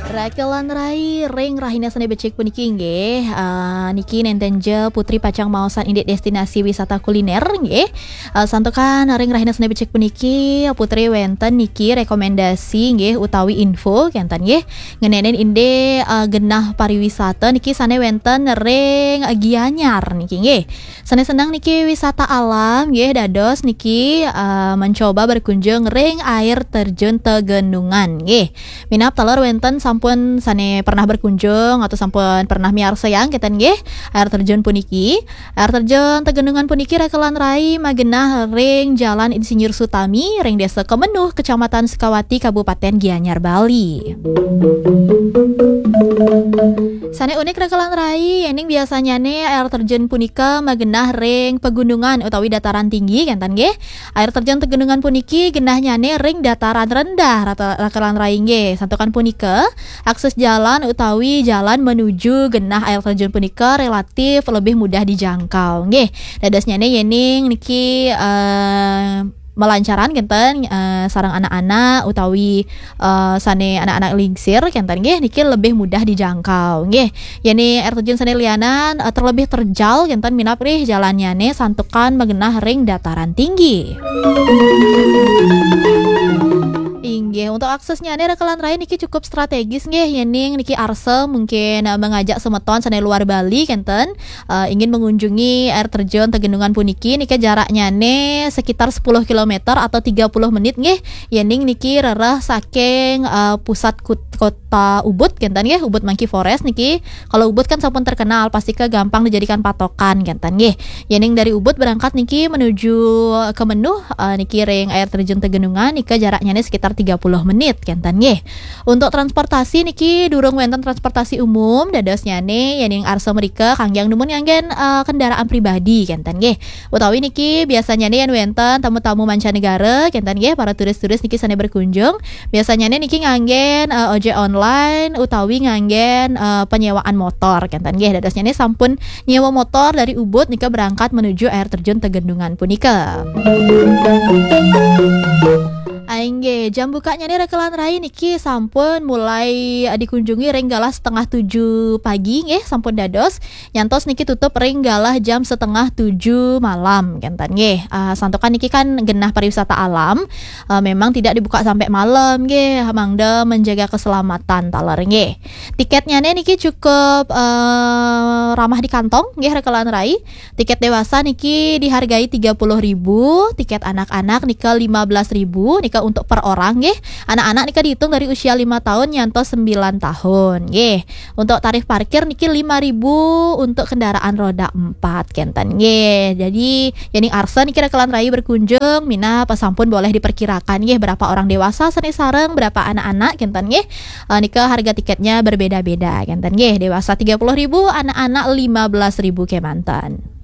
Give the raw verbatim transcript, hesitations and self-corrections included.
Rakelan rai ring rahina sane becik puniki nggih. Ah, niki nenten ja Putri pacang maosan indik destinasi wisata kuliner nggih. Ah, santukan ring rahina sane becik puniki Putri wenten niki rekomendasi nggih utawi info kenten nggih. Ngenenin indik, ah, genah pariwisata niki sane wenten ring Gianyar niki nggih. Sane seneng niki wisata alam nggih, dados niki, eh, mencoba berkunjung ring air terjun Tegenungan nggih. Minab taler wenten sampun sane pernah berkunjung atau sampun pernah miarsayang kenten nggih air terjun puniki. Air terjun Tegenungan puniki rakelan rai magenah ring Jalan Insinyur Sutami ring Desa Kemenuh, Kecamatan Sukawati, Kabupaten Gianyar, Bali. Sane unik rakelan rai, yening biasanyane air terjun punika magenah ring pegunungan utawi dataran tinggi kenten nggih. Air terjun Tegenungan puniki genahnyane ring dataran rendah rata-, rakelan rai nggih. Santukan punika, akses jalan utawi jalan menuju genah air terjun punika relatif lebih mudah dijangkau nggih. Dadosnyane yening niki, eh, melancaran kenten, eh, sareng anak-anak utawi, eh, sane anak-anak lingsir kenten nggih, niki lebih mudah dijangkau nggih. Yene air terjun sane lianan, eh, terlebih terjal kenten minab ring jalannyane santukan magenah ring dataran tinggi. Inggih, untuk aksesnyane rakelan rai niki cukup strategis nggih, yening niki arsa mungkin, eh, mengajak semeton sane luar Bali kenten, eh, ingin mengunjungi air terjun Tegenungan puniki, nika jaraknyane sekitar sepuluh kilometer atau tiga puluh menit nggih. Yening niki rereh saking, eh, pusat kut-, kota Ubud kenten nggih, Ubud Monkey Forest niki. Kalau Ubud kan sampun terkenal, pasti ke gampang dijadikan patokan kenten nggih. Yening dari Ubud berangkat niki menuju Kemenuh, eh, niki ring air terjun Tegenungan nika jaraknyane sekitar tiga puluh menit kenten nggih. Untuk transportasi niki durung wenten transportasi umum, dadosnyane yening arsa mrika kangge numun nganggen, eh, kendaraan pribadi kenten nggih. Utawi niki biasanyane yen wenten tamu-tamu mancanegara kenten nggih, para turis-turis niki sane berkunjung, biasanyane niki nganggen, eh, ojek online utawi nganggen, eh, penyewaan motor kenten nggih. Dadosnyane sampun nyewa motor dari Ubud nika berangkat menuju air terjun Tegenungan punika. Inggih, jam bukanyane rakelan rai niki sampun mulai, eh, dikunjungi ring galah setengah tujuh pagi nggih, sampun dados. Nyantos niki tutup ring galah jam setengah tujuh malam kenten nggih. Ah, santukan niki kan genah pariwisata alam, eh, memang tidak dibuka sampai malam nggih, mangda menjaga keselamatan taler nggih. Tiketnyane niki cukup, eh, ramah di kantong nggih rakelan rai. Tiket dewasa niki dihargai tiga puluh ribu, tiket anak-anak nika lima belas ribu, nika untuk per orang nggih. Anak-anak nika dihitung dari usia lima tahun nyantos sembilan tahun nggih. Untuk tarif parkir niki lima ribu untuk kendaraan roda empat kenten nggih. Jadi, yening arsa niki rakelan rai berkunjung, minab sampun boleh diperkirakan nggih berapa orang dewasa sane sareng berapa anak-anak kenten nggih. Eh, nika harga tiketnya berbeda-beda kenten nggih. Dewasa tiga puluh ribu, anak-anak lima belas ribu kemanten.